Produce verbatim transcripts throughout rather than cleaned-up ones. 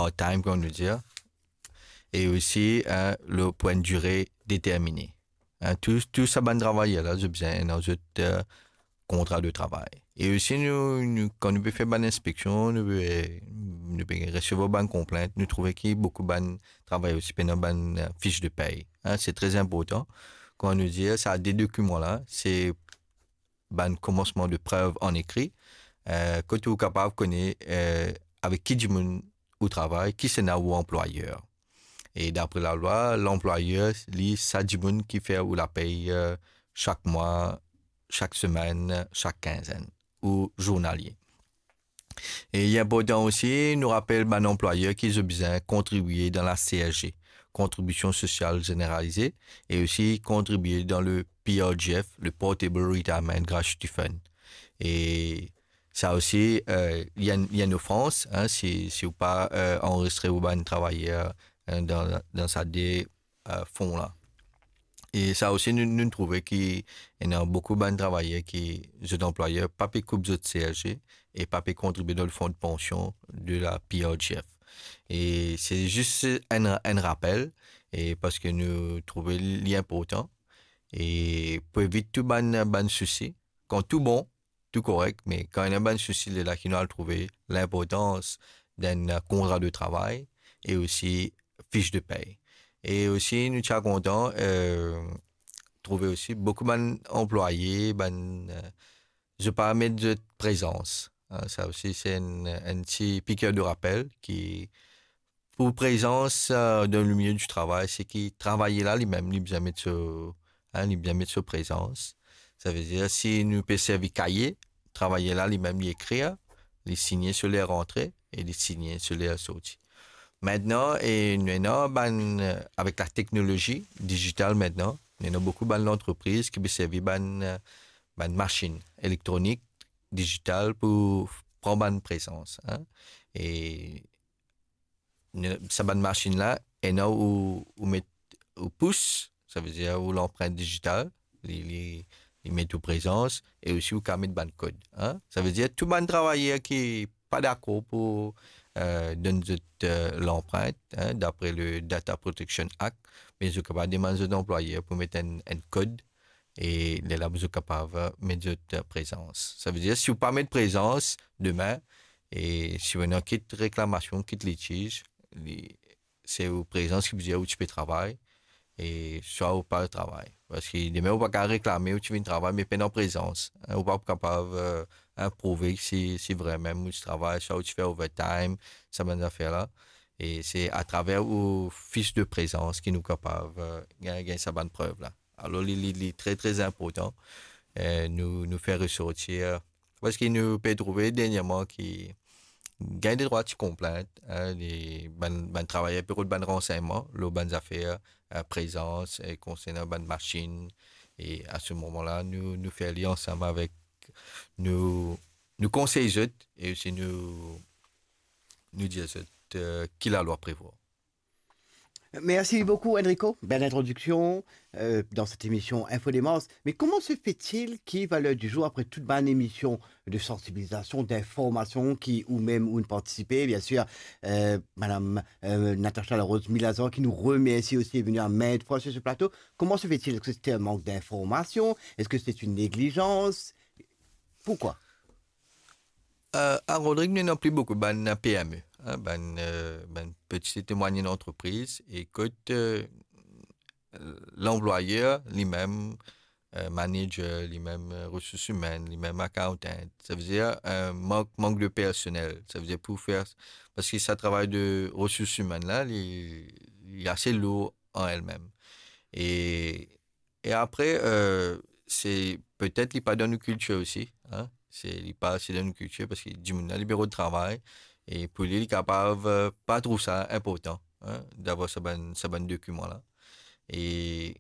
part-time, kouma nou dir, e osi, eh, lor pou enn dire determine. Eh, tou, tou sa bann travayer la, zot bizin ena zot, eh, kontra de travay. E osi, nou, nou, kan nou pe fer bann inspeksion, nou pe, nou pe resevwar bann konplint, nou trouve ki boukou bann travayer osi pena bann, eh, fich de pey. Eh, se tre inportan. Kouma nou dir, sa de dokiman la, se bann komansman de prev an ekri, eh, kot ou kapav kone, eh, avek ki dimoun ou travay, kisannla ou anplwayer. E dapre lalwa, lanplwayer, li, sa dimoun ki fer ou lapey, eh, sak mwa, sak semenn, sak kinzenn, ou zournalie. E li inportan osi, nou rapel bann anplwayer ki zot bizin kontribie dan la C S G, Kontribision Sosial Zeneralize, e osi kontribie dan le P R G F, le Portable Retirement Gratuity Fund. E sa osi, eh, li enn, li enn ofrans, hein, si, si ou pa, eh, anrezistre ou bann travayer, hein, dan, dan sa de, eh, fon la. E sa osi, nou, nou trouve ki ena boukou bann travayer ki zot anplwayer pa pe koup zot C S G e pa pe kontribie dan le fon de pansion de la P R G F. E se zis enn, enn rapel, e parski nou trouve li inportan, e pou evit tou bann, bann sousi, kan tou bon, tou korek, me kan ena bann sousi, lerla ki nou al trouve linportans dan enn kontra de travay e osi fich de pey. E osi, nou ti a kontan, eh, trouve osi boukou bann anplwaye, bann, eh, zot pa met zot prezans. Eh, sa osi, se enn, enn ti piker de rapel ki pou prezans, eh, dan le milieu du travay, se ki travayer la, limem, li bizin met so, hein, li bizin met so prezans. Savedir, si nou pe servi kaye, travayer la, limem, li ekrir, li signe so ler rantre e li signe so ler sorti. Aster, e nou ena bann, eh, avek la teknolozi dizital aster, nou ena boukou bann lantrepriz ki pe servi bann, eh, bann masinn elektronik, dizital pou pran bann prezans, hein. E ne-, sa bann masinn la, ena ou, ou met ou pous, savedir ou lanprint dizital, li, li, li met ou prezans, e osi ou kapav met bann kod, hein. Savedir tou bann travayer ki pa dakor pou, eh, donn zot, eh, lanprint, hein, dapre le Data Protection Act, me zot kapav demann zot anplwayer pou met enn, enn kod, e lerla zot kapav, eh, met zot, eh, prezans. Savedir, si ou pa met prezans, demin, e si ou ena kit reklamasion, kit litiz, li, se ou prezans ki pou dir ou ti pe travay, e swa ou pa travay. Parski demin ou pa kapav reklame ou ti vinn travay, me pena prezans. Hein, ou pa kapav, eh, hein, prouve si, si vremem ou ti travay, swa ou ti fer overtime, sa bann zafer la. E se atraver ou fich de prezans ki nou kapav, eh, gagn, gagn sa bann prev la. Alor, li, li, li tre, tre inportan, eh, nou, nou fer resortir, eh, parski nou pe trouve dernierman ki gagn detrwa ti konplint, hein, li, bann, bann travayer pe rod bann ransegnman lor bann zafer, eh, prezans, e konsernan bann masinn. E a se moman la, nou, nou fer li ansam avek, nou, nou konsey zot, e osi nou, nou dir zot, eh, ki lalwa prevwar. Merci beaucoup, Enrico. Belle introduction, euh, dans cette émission Info Démence. Mais comment se fait-il qui, à l'heure du jour, après toute bonne émission de sensibilisation, d'information, qui ou même ou ne participez, bien sûr, euh, Madame euh, Natacha Larose Milazan, qui nous remercie aussi, est venue à maintes fois sur ce plateau, comment se fait-il? Est-ce que c'était un manque d'information? Est-ce que c'est une négligence? Pourquoi? Euh, à Rodrigue, nou ena pli boukou bann P M E, hein, bann, euh, bann petit et moyenne entreprise, e kot, euh, lanplwayer, limem, euh, manager, limem, euh, resours imenn, limem accountant. Savedir, euh, mank, mank de personel. Savedir pou fer, parski sa travay de resours imenn la, li, li ase lour an elmem. E, e apre, euh, se petet li pa dan nou kiltir osi, hein. Se, li pa ase dan nou kiltir, parski dimoun la, li pe rod travay, e pou li, li kapav, euh, pa trouv sa inportan, hein, davwar sa bann, sa bann dokiman la. E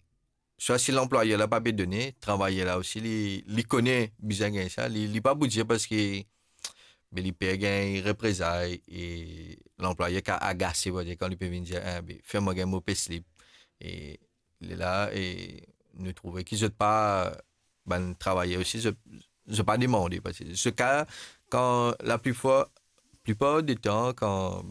swa si lanplwayer la pa pe done, travayer la osi, li, li kone bizin gagn sa, li, li pa pou dir parski, be, li per gagn reprezay, e lanplwayer kapav agase, pou dir, kan li pe vinn dir, eh, be, fer mwa gagn mo payslip. E lerla, e nou trouve ki zot pa, bann travayer osi, zot, zot pa demande, parski se ka, kan laplifwa, plipar de tan, kan